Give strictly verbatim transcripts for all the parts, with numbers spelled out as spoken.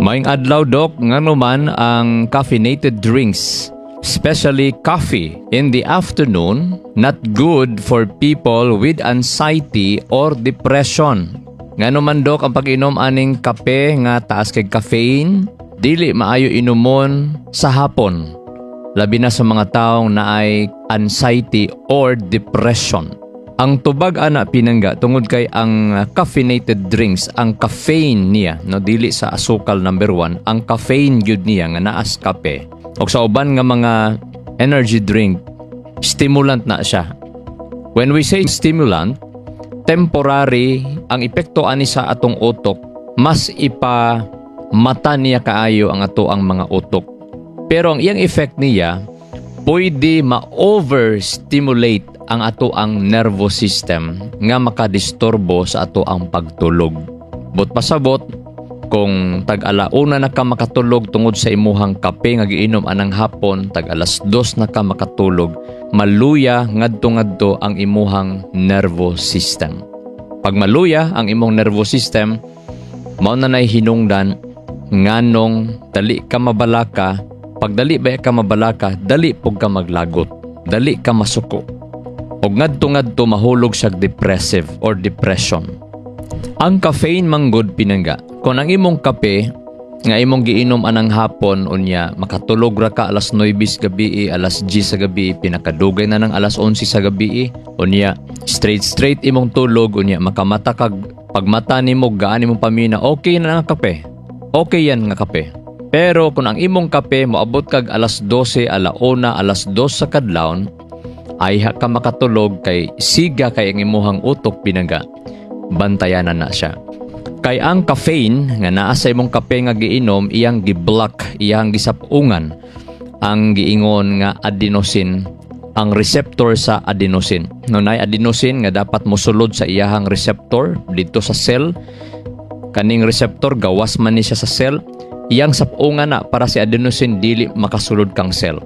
Maayong adlaw, Dok, ngano man ang caffeinated drinks, especially coffee in the afternoon, not good for people with anxiety or depression? Ngano man, Dok, ang pag-inom aning kape nga taas kay caffeine, dili maayo inumon sa hapon, labi na sa mga taong naay anxiety or depression? Ang tubag ana, pinangga, tungod kay ang caffeinated drinks, ang caffeine niya, no, dili sa asukal number one, ang caffeine gyud niya nga naas kape o sa uban nga mga energy drink, stimulant na siya. When we say stimulant, temporary ang epekto ani sa atong utok, mas ipa mata niya kaayo ang ato ang mga utok. Pero ang iyang effect niya, pwede ma-overstimulate ang ato ang nervous system nga makadisturbo sa ato ang pagtulog. But pasabot, kung tag alauna na ka makatulog tungod sa imuhang kape nga giinom anang hapon, tag alas dos na ka makatulog, maluya ngadto-ngadto ang imuhang nervous system. Pag maluya ang imong nervous system, mao na nay hinungdan nganong dali ka mabalaka. Pag dali ba ka mabalaka, dali pug ka maglagot, dali ka masuko. Og ngadto-ngadto mahulog siya depressive or depression. Ang caffeine manggod, pinangga, kung ang imong kape nga imong giinom anang hapon, unya makatulog ra ka alas nuwebe sa gabi, alas diyes sa gabi, pinakadugay na ng alas onse sa gabi, unya straight straight imong tulog, unya makamata kag pagmata nimo gaan imong pamina, okay na ang kape. Okay yan nga kape. Pero kung ang imong kape moabot kag alas dose, alauna, alas dos sa kadlawon, ayha ka makatulog kay siga kay ang imuhang utok, pinangga. Bantayanan na siya. Kay ang caffeine nga naa sa imong kape nga giinom, iyang gi-block, iyang gisapungan ang giingon nga adenosine, ang receptor sa adenosine. No, nay adenosine nga dapat mosulod sa iyahang receptor dito sa cell. Kaning receptor gawas man ni siya sa cell, iyang sapungan na para si adenosine dili makasulod kang cell.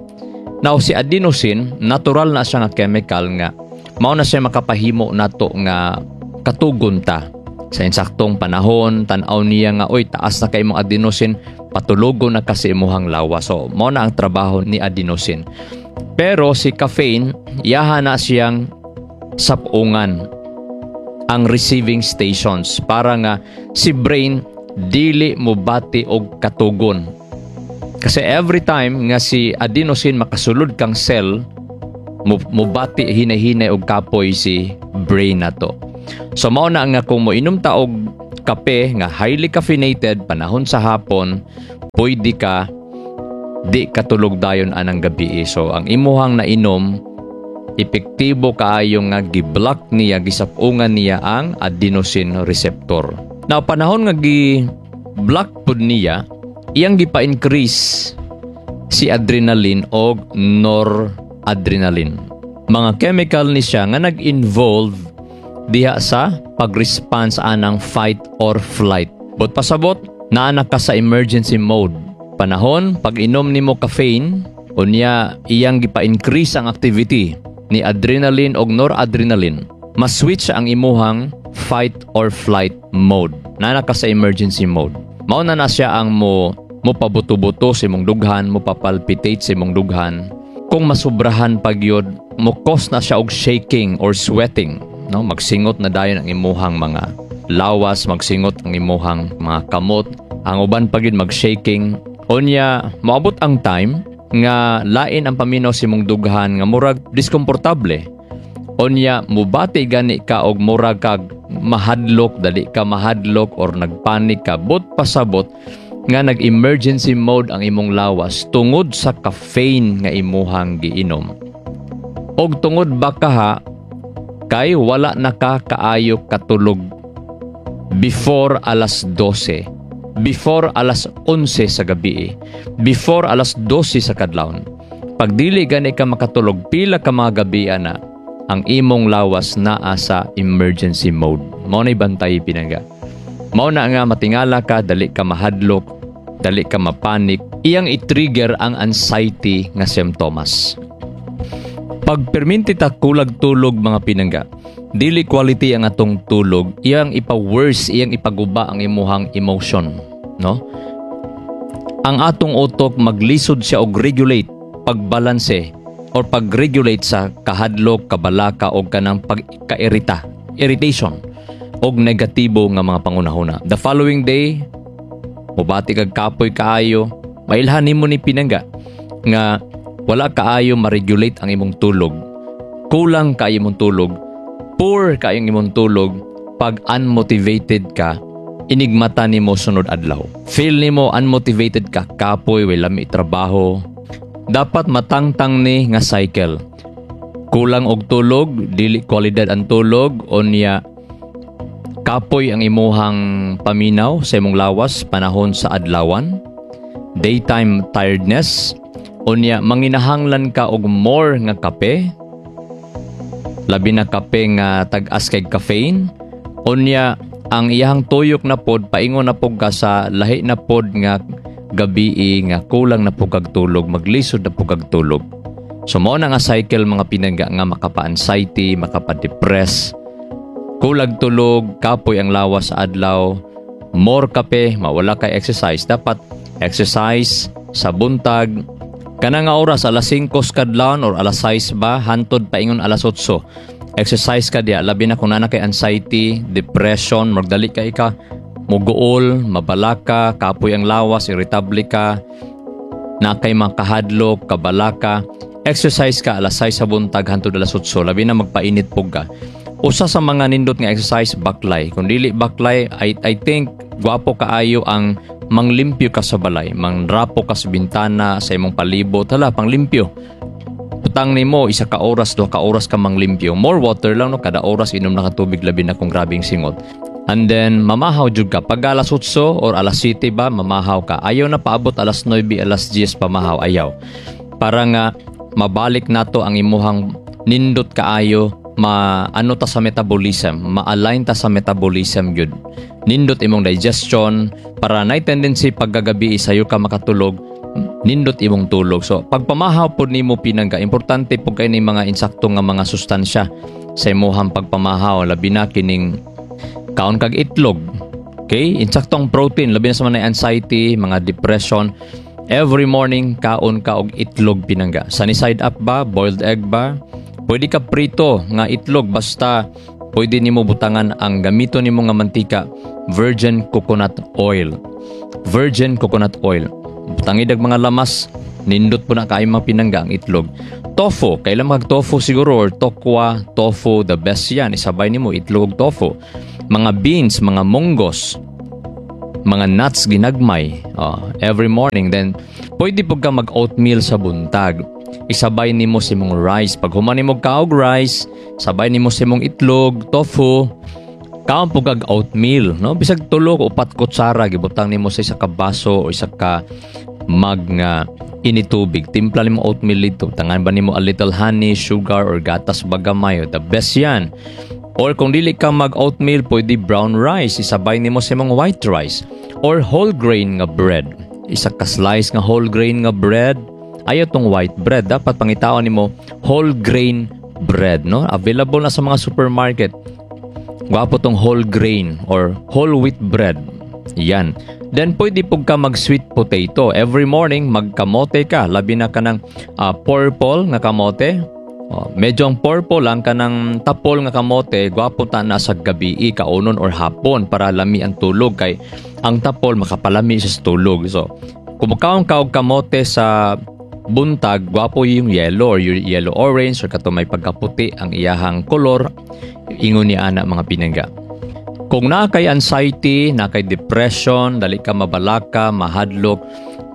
Now si adenosine, natural na siya nga chemical nga mao na siya makapahimo nato nga katugon ta sa insaktong panahon. Tan-aw niya nga, "Oy, taas na kay imong adenosine, patulogo na kasi imuhang lawas." So mao na ang trabaho ni adenosine. Pero si caffeine, iyaha na siyang sapungan ang receiving stations para nga si brain dili mo bati og katugon. Kasi every time nga si adenosine makasulod kang cell, mo mobati hinay-hinay og kapoy si brain nato. So mao na nga kung moinom ta og kape nga highly caffeinated panahon sa hapon, pwede ka di katulog dayon anang gabi. So ang imuhang nainom, epektibo kaayo nga gi-block niya, gisapungan niya ang adenosine receptor. Now panahon nga gi-block pud niya, iyang gipa-increase si adrenaline og noradrenaline. Mga chemical ni siya nga nag-involve diha sa pag-response anang fight or flight. But pasabot, naa na ka sa emergency mode. Panahon, pag inom nimo caffeine, unya iyang gipa-increase ang activity ni adrenaline og noradrenaline. Mas-switch ang imuhang fight or flight mode. Naa na ka sa emergency mode. Mao na na siya ang mo mo pabuto-buto sa imong dughan, mo papalpitate sa imong dughan. Kung masubrahan pag yun, mo cause na siya og shaking or sweating, no? Magsingot na dayon ang imuhang mga lawas, magsingot ang imuhang mga kamot, ang uban pa gyud mag-shaking. Unya, moabot ang time nga lain ang paminaw sa imong dughan nga murag diskomportable. Unya, mubati gani ka og murag kag mahadlok, dali ka mahadlok or nagpanik ka. But pasabot nga nag-emergency mode ang imong lawas tungod sa caffeine nga imuhang giinom. Og tungod ba kaha kay wala na ka kaayo katulog before alas dose, before alas onse sa gabi, before alas dose sa kadlawon. Pag dili gani ka makatulog pila ka mga gabi ana, ang imong lawas naa sa emergency mode. Mao na bantay, pinangga. Mao na nga matingala ka, dali ka mahadlok, dali ka mapanik, iyang i-trigger ang anxiety nga simptomas. Pag perminti ta kulag tulog, mga pinangga, dili quality ang atong tulog, iyang ipa-worse, iyang ipaguba ang imuhang emotion, no? Ang atong utok, maglisod siya og regulate, pagbalanse or pag-regulate sa kahadlok, kabalaka o kanang pagkairita, irritation og negatibo nga mga pangunahuna. The following day, mubati kag kapoy kaayo, mailhan nimo ni, pinangga, nga wala kaayo ma-regulate ang imong tulog. Kulang kaayo imong tulog, poor kaayo ang imong tulog, pag unmotivated ka, inigmata nimo sunod adlaw. Feel nimo unmotivated ka, kapoy, way lami trabaho. Dapat matangtang ni nga cycle. Kulang og tulog, dili kwalidad ang tulog, unya kapoy ang imuhang paminaw sa imong lawas panahon sa adlawan, daytime tiredness, unya manginahanglan ka og more nga kape, labi na kape nga tag-as kay caffeine, unya ang iyahang tuyok na pod, paingon na pod ka sa lahi na pod nga gabii nga kulang na pud kag tulog, maglisod na pud kag tulog. So mao na nga cycle, mga pinangga, nga makapa-anxiety, makapa-depress. Kulag tulog, kapoy ang lawas sa adlaw, more kape, mawala kay exercise. Dapat exercise sa buntag, kana nga oras, alas singko kadlawon or alas sais ba, hantod paingon alas otso. Exercise ka diya, labi na kung naa kay anxiety, depression, magdali ka ika, muguol, mabalaka, kapoy ang lawas, irritable ka, na kay makahadlok, kabalaka, exercise ka alas sais sa buntag hantod alas otso, labi na magpainit pug ka. Usa sa mga nindot nga exercise, baklay. Kung dili baklay, I, I think gwapo kaayo ang manglimpyo ka sa balay, mangrapo ka sa bintana, sa imong palibot, hala, panglimpyo. Butang nimo isa ka oras, duha ka oras ka manglimpyo. More water lang, no, kada oras inom na ka tubig, labi na kung grabing singot. And then mamahaw jud ka pag alas otso or alas siyete ba, mamahaw ka. Ayaw na paabot alas nuwebe, alas diyes pamahaw, ayaw. Para nga mabalik nato ang imuhang nindot kaayo, ma ano ta sa metabolism, ma-align ta sa metabolism gyud. Nindot imong digestion para nay tendency pagkagabi sayo ka makatulog, nindot imong tulog. So pagpamahaw pod nimo, pinangga, importante pud kay ni mga insakto nga mga sustansya sa imuhang pagpamahaw, labi na kining kaon kag itlog. Okay? Insaktong protein, labi na sa mga anxiety, mga depression. Every morning, kaon ka og itlog, pinangga. Sunny side up ba? Boiled egg ba? Pwede ka prito nga itlog, basta pwede nimo butangan ang gamito nimo nga mantika, virgin coconut oil. Virgin coconut oil. Butangid mga lamas, nindot po na kaayo, mga pinangga, ang itlog. Tofu, kailan mag tofu siguro or tokwa, tofu, the best yan. Isabay nimo itlog ug tofu. Mga beans, mga munggos, mga nuts ginagmay, oh, every morning. Then, pwede po ka mag-oatmeal sa buntag. Isabay nimo sa imong rice. Pag human nimo kaog rice, sabay nimo sa imong itlog, tofu, kaon po kag oatmeal, no? Bisag tulo o upat kutsara, gibutang nimo sa isa ka baso o isa ka mug nga initubig. Timpla nimo oatmeal dito. Tangan ba nimo a little honey, sugar or gatas ba gamay? The best yan. Or kung dili ka mag oatmeal, pwede brown rice. Isabay nimo sa imong white rice. Or whole grain nga bread. Isa ka slice nga whole grain nga bread. Ayaw tong white bread. Dapat pangitaon nimo whole grain bread, no? Available na sa mga supermarket. Gwapo tong whole grain or whole wheat bread. Yan. Then pwede pug ka mag sweet potato. Every morning magkamote ka. Labi na ka ng ah, purple nga kamote. Oh, medyo ang purple lang kanang tapol nga kamote, gwapo ta na sa gabi kaunon or hapon para lami ang tulog, kay ang tapol makapalami siya sa tulog. So, kung mukaon ka og kamote sa buntag, gwapo yung yellow or yung yellow orange or kato may pagkaputi ang iyahang kolor, ingon ni ana, mga pinangga. Kung naa kay anxiety, naa kay depression, dali ka mabalaka, mahadlok,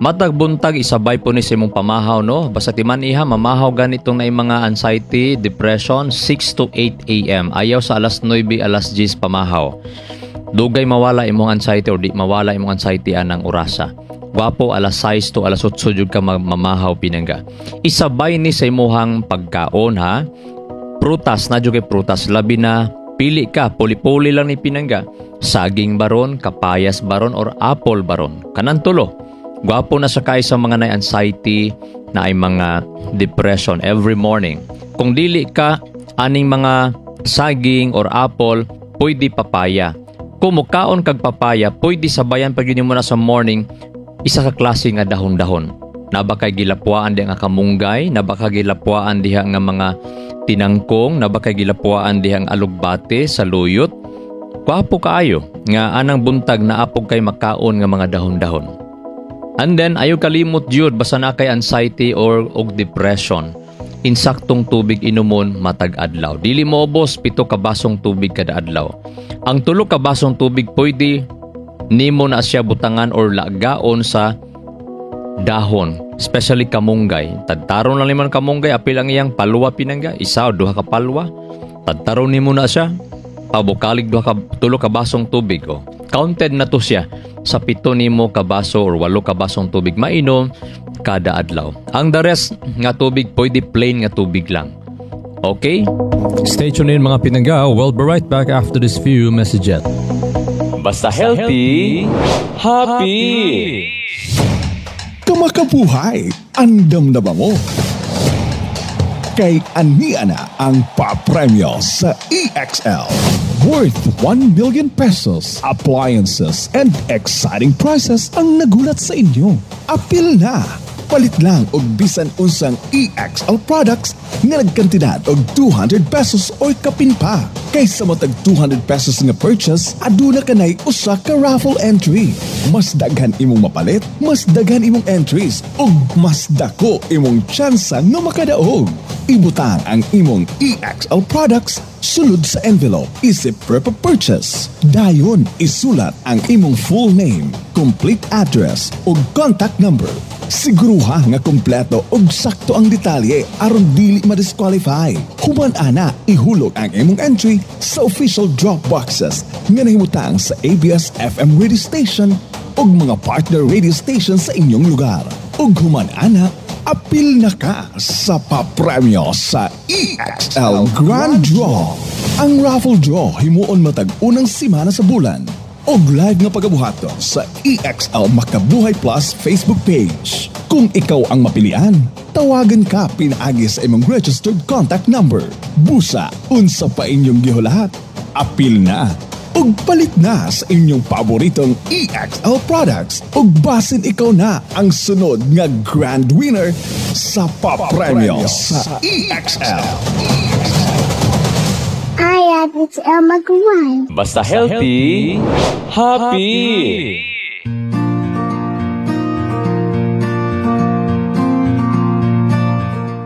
matag buntag isabay po ni sa imong pamahaw, no? Basta timan iha, mamahaw ganitong na mga anxiety, depression, six to eight a m. Ayaw sa alas nuwebe, alas diyes pamahaw. Dugay mawala imong anxiety or di mawala imong anxiety anang orasa. Gwapo alas sais to alas otso jud ka mamahaw, pinangga. Isabay ni sa imuhang pagkaon ha. Prutas na jud kay prutas, labi na pili ka, puli-puli lang ni, pinangga. Saging baron, kapayas baron or apple baron. Kanan tulo. Gwapo na sa kay sa mga na anxiety, na ay mga depression every morning. Kung dili ka aning mga saging or apple, pwede papaya. Kung mukaon kag papaya, pwede sabayan pag yun mo na sa morning Isa ka klase nga dahon-dahon. Naa ba kay gilapwaan diha nga kamunggay, naa ba kay gilapwaan diha nga mga tinangkong, naa ba kay gilapwaan diha nga alugbate, saluyot. Gwapo kaayo nga anang buntag naa pud kay makaon nga mga dahon-dahon. And then ayaw kalimot jud basta naa kay anxiety or og depression. Insaktong tubig inumon matag adlaw. Dili moubos pito ka basong tubig kada adlaw. Ang tulo ka basong tubig pwede nimo na siya butangan or lagaon sa dahon, especially kamunggay. Tadtaron lang naman kamunggay, apil ang iyang palwa pinangga, isa o duha ka palwa. Tadtaron nimo na siya. Pabukalig duha ka tulo ka basong tubig oh. Counted na to siya sa pito nimo ka baso or walo ka basong tubig mainom kada adlaw. Ang the rest nga tubig pwede plain nga tubig lang. Okay? Stay tuned in mga pinangga. We'll be right back after this few messages. Basta healthy, happy. Kamakabuhay, andam na ba mo? Kay ania na ang papremyo sa EXL. Worth one million pesos, appliances, and exciting prizes ang nagulat sa inyo. Apil na! Palit lang og bisan unsang EXL products nga nagkantidad og two hundred pesos or kapin pa. Kaysa matag two hundred pesos nga purchase, aduna kanay usa ka raffle entry. Mas daghan imong mapalit, mas daghan imong entries, ug mas dako imong tsansa nga makadaog. Ibutang ang imong EXL products sulod sa envelope isip proof of purchase. Dayon isulat ang imong full name, complete address ug contact number. Siguruha nga kompleto ug sakto ang detalye aron dili ma-disqualify. Human ana, ihulog ang imong entry sa official drop boxes nga nahimutang sa ABS FM radio station ug mga partner radio station sa inyong lugar. Ug human ana, apil na ka sa papremyo sa EXL Grand Draw. Ang raffle draw himuon matag unang simana sa bulan og live nga pagabuhaton sa EXL Makabuhay Plus Facebook page. Kung ikaw ang mapilian, tawagan ka pinaagi sa imong registered contact number. Busa, unsa pa inyong gihulat? Apil na ug palit na sa inyong paboritong EXL products ug basin ikaw na ang sunod nga grand winner sa papremyo sa EXL. Hi, it's Elma Guan. Basta healthy, happy.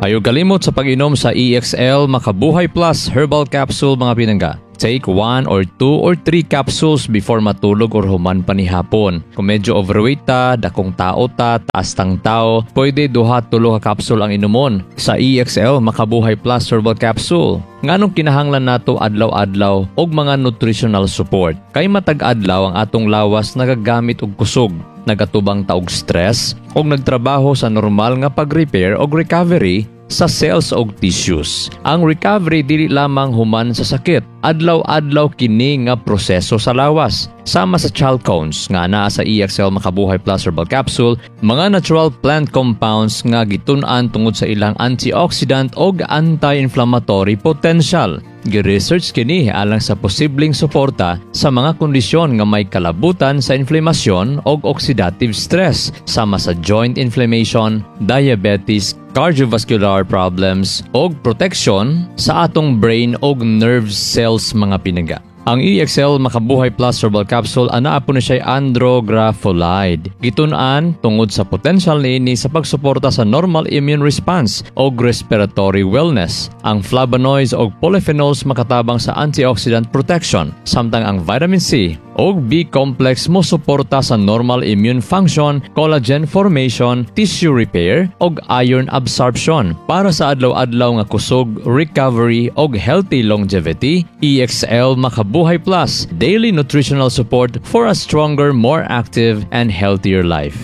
Ayaw kalimot sa pag-inom sa EXL Makabuhay Plus Herbal Capsule mga pinangga. Take one or two or three capsules before matulog or human panihapon. Kung medyo overweight ta, dakong tao ta, taas tang tao, pwede duha tulo ka capsule ang inumon sa EXL Makabuhay Plus Herbal Capsule. Nganong kinahanglan nato adlaw-adlaw og mga nutritional support? Kay matag adlaw ang atong lawas nagagamit og kusog, nagatubang ta og stress og nagtrabaho sa normal nga pag-repair og recovery sa cells og tissues. Ang recovery dili lamang human sa sakit. Adlaw-adlaw kini nga proseso sa lawas. Sama sa chalcones nga naa sa EXL Makabuhay Plus Herbal Capsule, mga natural plant compounds nga gitun-an tungod sa ilang antioxidant og anti-inflammatory potential. Gi-research kini alang sa posibleng suporta sa mga kondisyon nga may kalabutan sa inflamasyon og oxidative stress sama sa joint inflammation, diabetes, cardiovascular problems og protection sa atong brain og nerve cells mga pinangga. Ang EXL Makabuhay Plus Herbal Capsule anaa po ni siya andrographolide. Gitun-an tungod sa potential niini sa pagsuporta sa normal immune response og respiratory wellness. Ang flavonoids og polyphenols makatabang sa antioxidant protection, samtang ang vitamin C og B complex mo suporta sa normal immune function, collagen formation, tissue repair og iron absorption. Para sa adlaw-adlaw nga kusog, recovery og healthy longevity, EXL Makabuhay Plus, daily nutritional support for a stronger, more active and healthier life.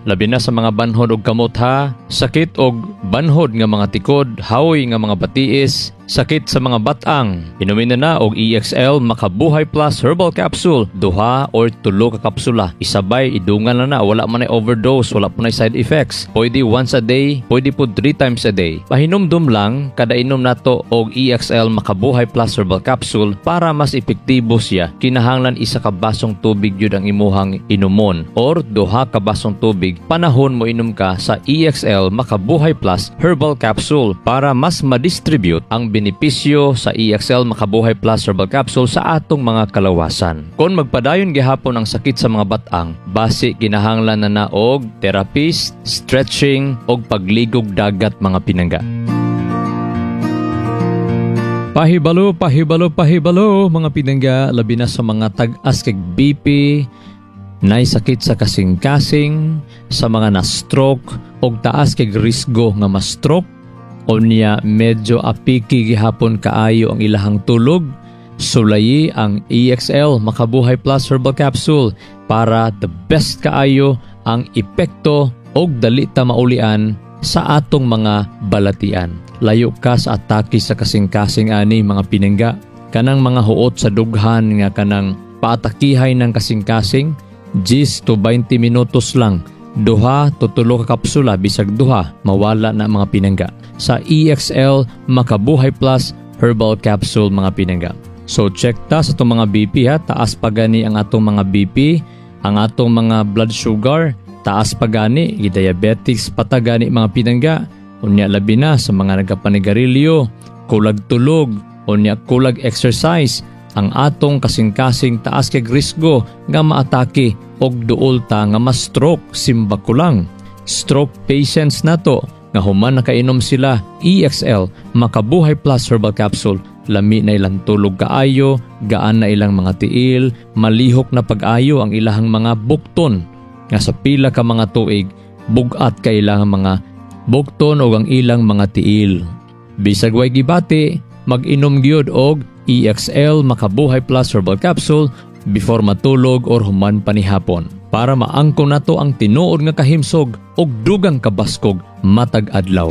Labi na sa mga banhod og kamot ha, sakit og banhod nga mga tikod, haoy nga mga batiis, Sakit sa mga batang, inumin na na og E X L Makabuhay Plus Herbal Capsule, duha or tulo ka kapsula. Isabay, idungan na na, wala man ay overdose, wala po na side effects. Pwede once a day, pwede po three times a day. Pahinumdum lang, kada inom nato og E X L Makabuhay Plus Herbal Capsule, para mas epektibo siya, kinahanglan isa ka basong tubig yun ang imuhang inumon or duha ka basong tubig panahon mo inom ka sa E X L Makabuhay Plus Herbal Capsule para mas madistribute ang benepisyo sa E X L Makabuhay Plus Herbal Capsule sa atong mga kalawasan. Kung magpadayon gihapon ang sakit sa mga batang, basi kinahanglan na na og therapist, stretching og pagligog dagat, mga pinangga. Pahibalo, pahibalo, pahibalo, mga pinangga, labi na sa mga tag-as kag B P, nay sakit sa kasing-kasing, sa mga na-stroke og taas kag risgo nga ma-stroke, unya medyo apiki gihapon kaayo ang ilahang tulog, sulayi ang E X L Makabuhay Plus Herbal Capsule para the best kaayo ang epekto og dali ta maulian sa atong mga balatian. Layo ka sa atake sa kasing-kasing ani, mga pinangga. Kanang mga huot sa dughan nga kanang paatakihay ng kasing-kasing, ten to twenty minutos lang, duha to tulo ka kapsula, bisag duha, mawala na, mga pinangga, sa E X L Makabuhay Plus Herbal Capsule, mga pinangga. So check ta sa atong mga B P ha, taas pa gani ang atong mga B P, ang atong mga blood sugar, taas pa gani, diabetics pa ta gani, mga pinangga. Unya labi na sa mga nagapanigarilyo, kulag tulog, unya kulag exercise, ang atong kasing-kasing taas kay risgo nga maatake og duol ta nga ma-stroke, simba ko lang. Stroke patients nato nga human nakainom sila E X L Makabuhay Plus Herbal Capsule, lami na ilang tulog kaayo, gaan na ilang mga tiil, malihok na pag-ayo ang ilahang mga bukton nga sa pila ka mga tuig bugat kay ilang mga bukton o ang ilang mga tiil. Bisag way gibati, mag-inom gyud og E X L Makabuhay Plus Herbal Capsule before matulog or human panihapon para maangko nato ang tinuod nga kahimsog og dugang kabaskog matag adlaw.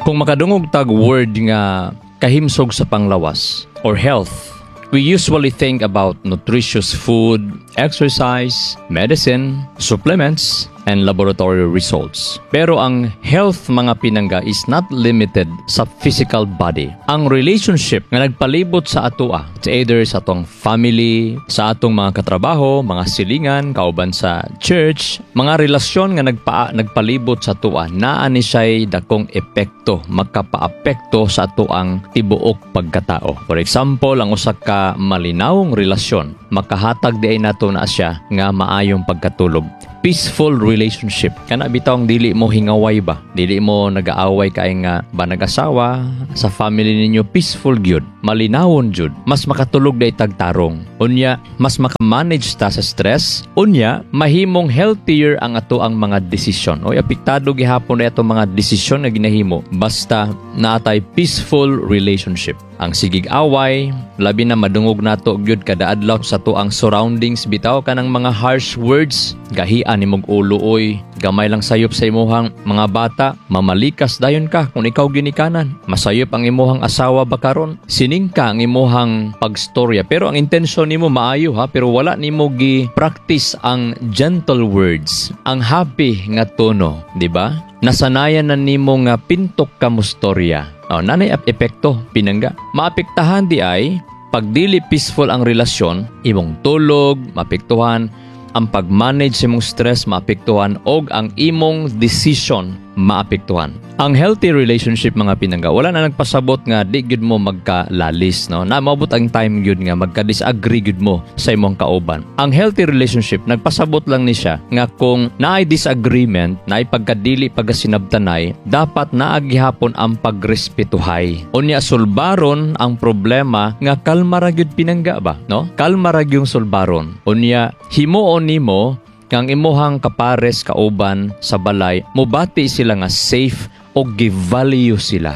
Kung makadungog tag word nga kahimsog sa panglawas or health, we usually think about nutritious food, exercise, medicine, supplements, and laboratory results. Pero ang health, mga pinangga, is not limited sa physical body. Ang relationship nga nagpalibot sa atoa, it's either sa atong family, sa atong mga katrabaho, mga silingan, kauban sa church, mga relasyon nga nagpa, nagpalibot sa atoa, naa ni siya'y dakong epekto, makapaapekto sa atoang tibuok pagkatao. For example, ang usa ka malinawong relasyon, makahatag di ay nato na siya nga maayong pagkatulog, peaceful relationship. Kana bitawng dili mo hingaway ba? Dili mo nagaaway kay nga ba nag-asawa sa family ninyo, peaceful gyud. Malinawon jud. Mas makatulog day tagtarong. Unya, mas makamanage ta sa stress. Unya, mahimong healthier ang ato ang mga desisyon. Oy, apektado gihapon na atong mga desisyon nga ginahimo basta naatay peaceful relationship. Ang sigig away, labi na madungog nato gyud kada adlaw sa tuang surroundings bitaw, kanang mga harsh words, gahian nimog ulo oy, gamay lang sayop sa imuhang mga bata, mamalikas dayon ka kung ikaw ginikanan. Masayop ang imuhang asawa ba karon? Sining ka ang imuhang pagstorya, pero ang intensyon nimo maayo ha, pero wala nimo gi practice ang gentle words, ang happy nga tono, di ba? Nasanayan na nimo nga pintok ka mustorya. Oh, nanay epekto, pinangga. Maapektahan di ay pag dili peaceful ang relasyon, imong tulog maapektuhan, ang pag-manage sa imong stress maapektuhan, og ang imong decision maapektuhan. Ang healthy relationship, mga pinangga, wala na nagpasabot nga di gyud mo magkalalis, no? Na maabot ang time gyud nga magka-disagree gyud mo sa imong kauban. Ang healthy relationship nagpasabot lang ni siya nga kung naay disagreement, naay pagkadili pagkasinabtanay, dapat naa gihapon ang pagrespetuhay. Unya sulbaron ang problema nga kalma ra gyud, pinangga ba, no? Kalma ra gyud sulbaron. Unya himuon nimo kang imuhang kapares, kauban sa balay, mubati sila nga safe o give-value sila.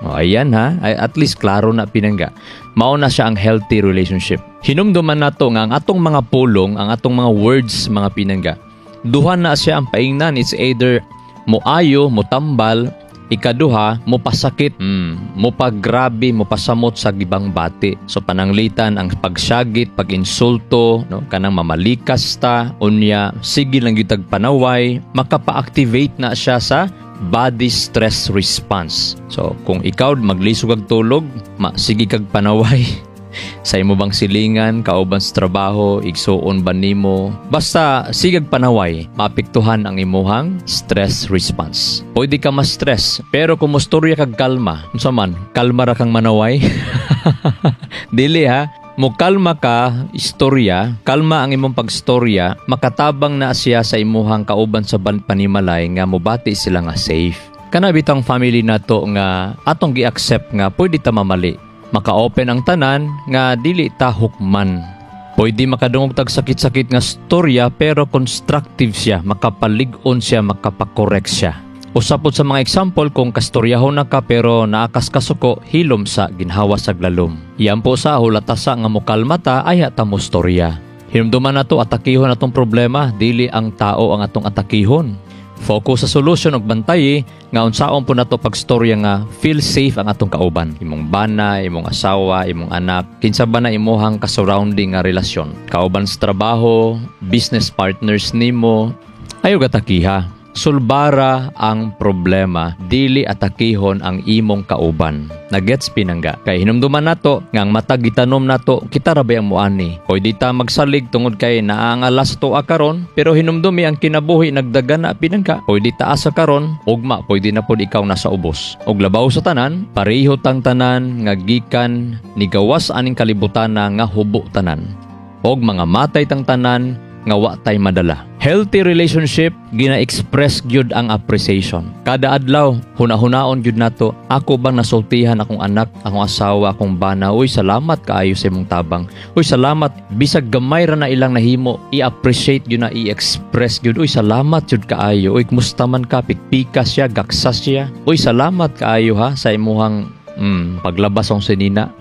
O, ayan ha, ay, at least klaro na, pinangga. Mao na siya ang healthy relationship. Hinumduman nato nga ang atong mga pulong, ang atong mga words, mga pinangga, duha na siya ang paingnan. It's either Moayo, motambal, ikaduha, mopasakit, mm, mopagrabe, mopasamot sa gibang bati. So pananglitan ang pagsyagit, pag-insulto, no, kanang mamalikas ta, unya sige lang gyud tag panaway, makapa-activate na siya sa body stress response. So kung ikaw maglisog kag tulog, ma sige kag panaway. Sa imo bang silingan, kauban sa trabaho, igsuon ba nimo? Basta sigag panaway, maapektuhan ang imuhang stress response. Pwede ka ma-stress, pero kung mostorya kag kalma, unsa man, kalma ra kang manaway? Dili ha. Mo kalma ka, istorya, kalma ang imong pagstorya, makatabang na siya sa imuhang kauban sa ban- panimalay nga mobati sila nga safe. Kana bitang family nato nga atong gi-accept nga pwede ta mamali. Maka-open ang tanan nga dili ta hukman. Pwede makadungog tag sakit-sakit nga storya pero constructive siya, makapalig-on siya, makapakorek siya. Usa pod sa mga example, kung kastoryahon na ka pero naakas kasuko, hilom sa, ginhawa sa lalom. Yan po sa hulatasa nga mokalma ta, ayha ta mo storya. Hinumduman nato, atakihon atong problema, dili ang tao ang atong atakihon. Focus sa solution ug bantayi nga unsaon po nato pagstorya nga feel safe ang atong kauban. Imong bana, imong asawa, imong anak, kinsa ba na imuhang ka-surrounding nga relasyon. Kauban sa trabaho, business partners nimo, ayaw gatakiha. Sulbara ang problema, dili atakihon ang imong kauban. Nagets, pinangga? Kay hinumduman nato nga ang matag gitanom nato, kita ra bay ang muani. Pwede ta magsalig tungod kay naangalas to karon, pero hinumdumi ang kinabuhi nagdagana, pinangga. Pwede taas sa karon, ugma pwede na pod ikaw nasa ubos. Og labaw sa tanan, pareho tang tanan nga gikan ni gawas aning kalibutan nga hubo tanan. Og mga matay tang tanan nga wa tay madala. Healthy relationship gina-express gyud ang appreciation. Kada adlaw, huna-hunaon gyud nato, ako bang nasultihan akong anak, akong asawa, akong bana, "Uy, salamat kaayo sa imong tabang. Uy, salamat," bisag gamay ra na ilang nahimo, i-appreciate gyud na, i-express gyud, "Uy, salamat gyud kaayo. Uy, kumusta man ka?" Pikpika siya, gaksa siya. "Uy, salamat kaayo ha sa imuhang mm, paglabas ang sinina.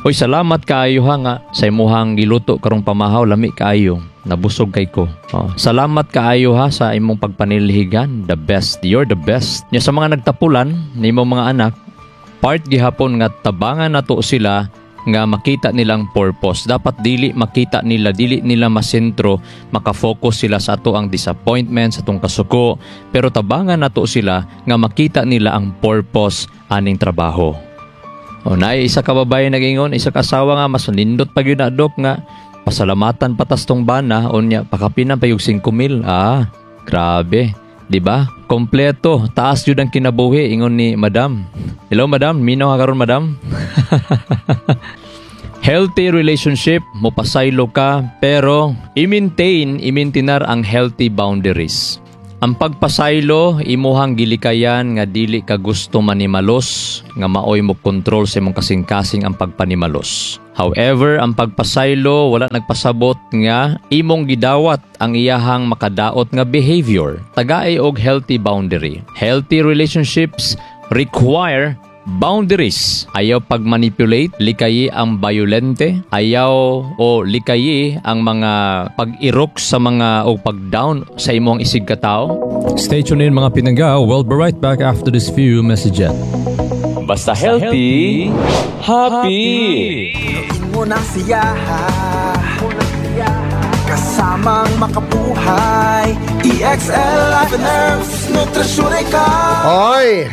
Uy, salamat kaayo ha nga sa imuhang giluto karong pamahaw, lami kaayo. Nabusog kay ko. Oh, salamat kaayo ha sa imong pagpanilhigan. The best. You're the best." Nya sa mga nagtapulan nimo mga anak, part gihapon nga tabangan nato sila nga makita nilang purpose. Dapat dili makita nila, dili nila masentro, makafocus sila sa ato ang disappointment, sa atong kasuko, pero tabangan nato sila nga makita nila ang purpose aning trabaho. O naay isa ka babae nag-ingon, isa ka asawa nga mas nindot pa gyud na, Dok, nga pasalamatan patas tong bana, unya pakapinan pa yung singko mil. Ah, grabe. Di ba? Kompleto, taas jud ang kinabuhi ingon ni Madam. Hello, Madam, minaw ka karon, Madam. Healthy relationship, mopasaylo ka, pero i-maintain, i-maintinar ang healthy boundaries. Ang pagpasaylo, imuhang gilikayan nga dili ka gusto manimalos, nga maoy mo kontrol sa imong kasing-kasing ang pagpanimalos. However, ang pagpasaylo wala nagpasabot nga imong gidawat ang iyahang makadaot nga behavior. Tagay og healthy boundary. Healthy relationships require boundaries. Ayaw pag-manipulate, likayi ang violente, ayaw o likayi ang mga pag-irok sa mga o pag-down sa imong isig katao. Stay tuned in, mga pinangga. We'll be right back after this few messages. Basta healthy, happy. Mo na siya kasamang makabuhay. E X L Life and Herbs Nutrisyon ikaw. Hoy!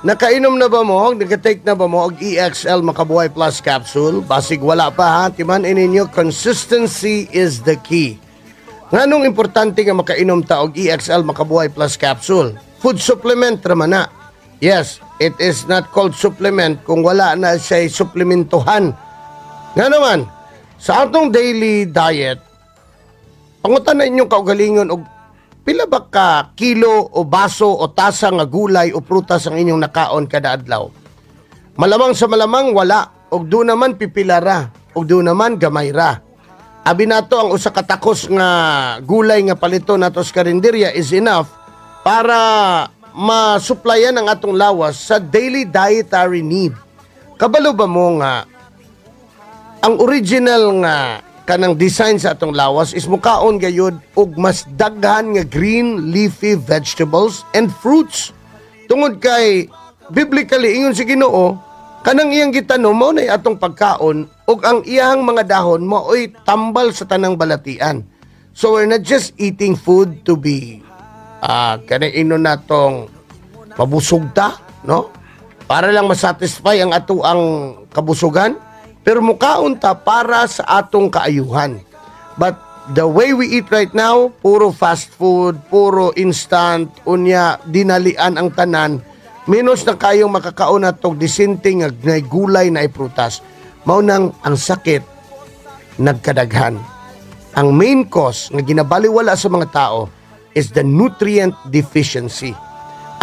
Nakainom na ba mo? Naka-take na ba mo og E X L Makabuhay Plus Capsule? Basig wala pa ha. Timan ninyo, consistency is the key. Nganong importante nga makainom ta og E X L Makabuhay Plus Capsule? Food supplement raman na. Yes, it is not called supplement kung wala na siya suplementuhan. Nga naman, sa atong daily diet, pangutan na inyong kaugalingon og pila ba ka kilo o baso o tasa nga gulay o prutas ang inyong nakaon kada adlaw. Malamang sa malamang wala, og do naman pipilara, og do naman gamay ra. Abi nato ang usa ka takos nga gulay nga palito nato sa karinderya is enough para masuplayan ang atong lawas sa daily dietary need. Kabalo ba mo nga ang original nga kanang design sa atong lawas is mukaon gayud og mas daghan nga green leafy vegetables and fruits. Tungod kay biblically ingon si Ginoo, kanang iyang gitanom mao nay atong pagkaon ug ang iyang mga dahon mao'y tambal sa tanang balatian. So we're not just eating food to be ah kanang inon natong mabusog ta, no? Para lang masatisfy ang ato ang kabusugan, pero mukaon ta para sa atong kaayuhan. But the way we eat right now, puro fast food, puro instant, unya dinalian ang tanan, menos na kayong makakaon natog disente nga nay gulay na prutas. Mao nang ang sakit nagkadaghan. Ang main cause nga ginabaliwala sa mga tao is the nutrient deficiency.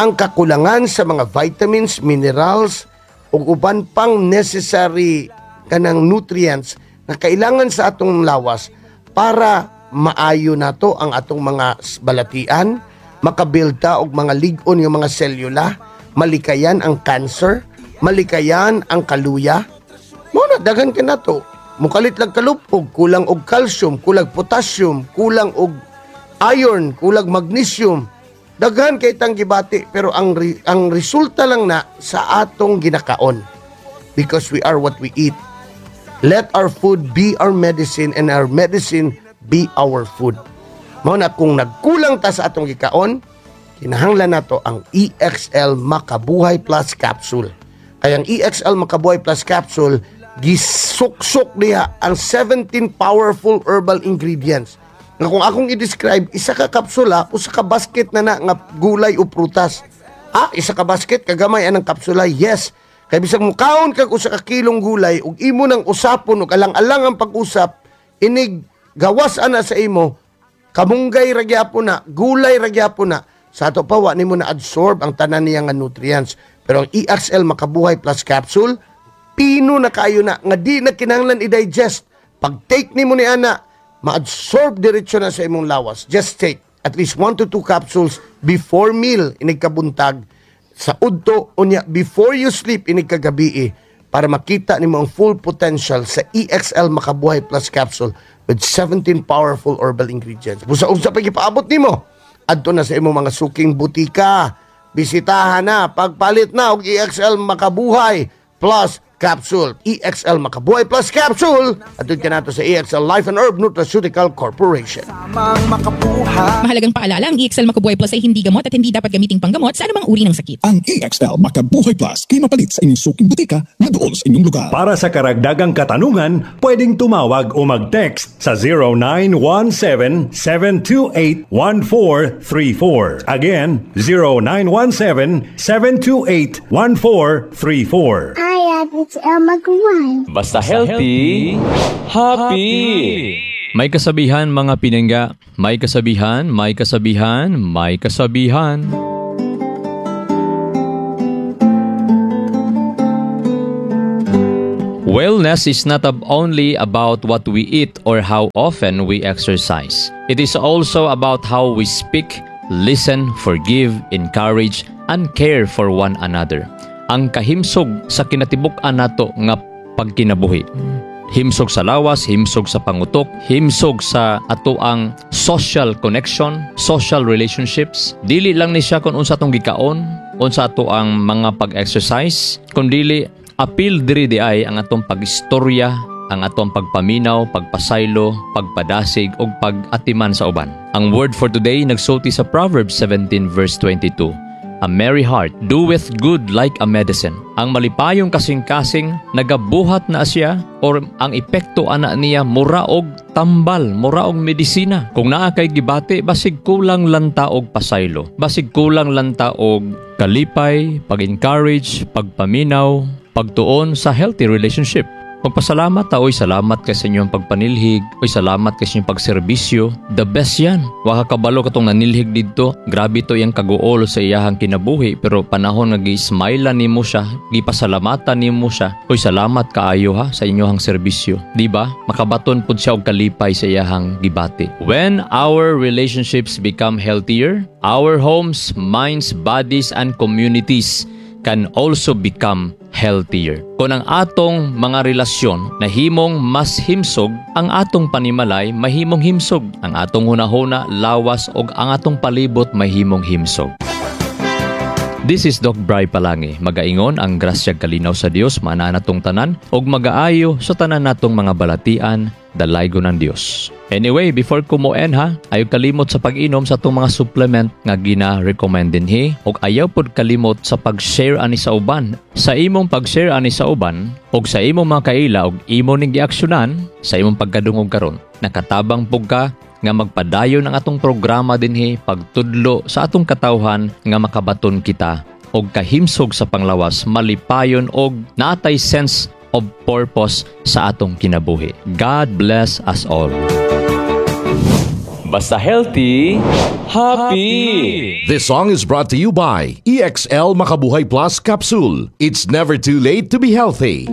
Ang kakulangan sa mga vitamins, minerals, ug uban pang necessary kanang nutrients na kailangan sa atong lawas para maayo nato ang atong mga balatian, makabuild ta og mga lig-on nga mga selula, malikayan ang cancer, malikayan ang kaluya. Mao na daghan ka nato. Mukalit lang kalupog, kulang og calcium, kulang potassium, kulang og iron, kulang magnesium. Daghan kay tang gibati pero ang re- ang resulta lang na sa atong ginakaon. Because we are what we eat. Let our food be our medicine and our medicine be our food. Mao na kung nagkulang ta sa atong gikaon, kinahanglan nato ang E X L Makabuhay Plus Capsule. Kaya ang E X L Makabuhay Plus Capsule, gisuksok niya ang seventeen powerful herbal ingredients. Nga kung akong i-describe, isa ka kapsula, usa ka basket na na nga gulay o prutas. Ah, isa ka basket, kagamay anang kapsula? Yes. Kay bisag mukaon kag usa ka kilong gulay ug imo nang usapon ug alang-alang ang pag-usap, inig gawas ana sa imo, kamunggay ra gyapon na, gulay ra gyapon na. Sa ato pa wa nimo na absorb ang tanan niya nga nutrients. Pero ang E X L Makabuhay Plus Capsule, pino na kayo na nga di na kinahanglan i-digest. Pag take nimo ni ana, ma-absorb diretso na sa imong lawas. Just take at least one to two capsules before meal inig kabuntag, sa udto, unya before you sleep inig kagabi para makita nimo ang full potential sa E X L Makabuhay Plus Capsule with seventeen powerful herbal ingredients. Busa unsa pa gipaabot nimo? Adto na sa imong mga suking butika. Bisitahan na, pagpalit na og E X L Makabuhay Plus Capsule. E X L Makabuhay Plus Capsule. Adto ka nato sa E X L Life and Herb Nutraceutical Corporation. Tamang makabuhay. Mahalagang paalala, ang E X L Makabuhay Plus ay hindi gamot at hindi dapat gamiting panggamot sa anumang uri ng sakit. Ang E X L Makabuhay Plus kay mapalit sa inyong suking butika na duol sa inyong lugar. Para sa karagdagang katanungan, pwedeng tumawag o mag-text sa zero nine one seven, seven two eight, one four three four. Again, zero nine one seven, seven two eight, one four three four. Hi, it's Magwan. Basta healthy, happy. May kasabihan, mga pinangga, may kasabihan, may kasabihan, may kasabihan. Wellness is not ab- only about what we eat or how often we exercise. It is also about how we speak, listen, forgive, encourage, and care for one another. Ang kahimsog sa kinatibuk-an nato nga pagkinabuhi. Himsog sa lawas, himsog sa pangutok, himsog sa ato ang social connection, social relationships. Dili lang ni siya kung unsa atong gikaon, unsa ato ang mga pag-exercise, kundili apil diri di ay ang atong pag-istorya, ang atong pagpaminaw, pagpasaylo, pagpadasig ug pag-atiman sa uban. Ang word for today nagsulti sa Proverbs seventeen verse twenty-two. "A merry heart doeth good like a medicine." Ang malipayong kasing-kasing nagabuhat na siya or ang epekto ana niya mura og tambal, mura og medisina. Kung naa kay gibati, basig kulang lanta og pasaylo. Basig kulang lanta og kalipay, pag-encourage, pagpaminaw, pagtuon sa healthy relationship. Magpasalamat ta, oy, salamat kay sa inyong pagpanilhig, oy, salamat kay sa inyong pagserbisyo. The best yan. Wa ka kabalo katong nanilhig didto. Grabe to iyang kaguol sa iyahang kinabuhi, pero panahon nga gi-smile nimo siya, gipasalamatan nimo siya. Oy, salamat kaayo ha sa inyong serbisyo. Di ba? Makabaton pud siya og kalipay sa iyahang gibati. When our relationships become healthier, our homes, minds, bodies and communities can also become healthier. Kung ang atong mga relasyon nahimong mas himsog, ang atong panimalay mahimong himsog, ang atong hunahuna, lawas ug ang atong palibot mahimong himsog. This is Doc Bry Palangi. Magaingon ang grasya kalinaw sa Dios maana natong tanan ug magaayo sa tanan natong mga balatian dalaygon ng Dios. Anyway, before ko mo end ha, ayaw kalimot sa pag-inom sa atong mga supplement nga gina-recommend dinhi ug ayaw pod kalimot sa pag-share ani sa uban. Sa imong pag-share ani sa uban ug sa imong mga kaila ug imo ning giaksyonan sa imong pagkadungog karon, nakatabang pug ka nga magpadayon ang atong programa dinhi pagtudlo sa atong katawhan nga makabaton kita og kahimsog sa panglawas malipayon og natay sense of purpose sa atong kinabuhi. God bless us all. Basta healthy, happy. This song is brought to you by EXL Makabuhay Plus Capsule. It's never too late to be healthy.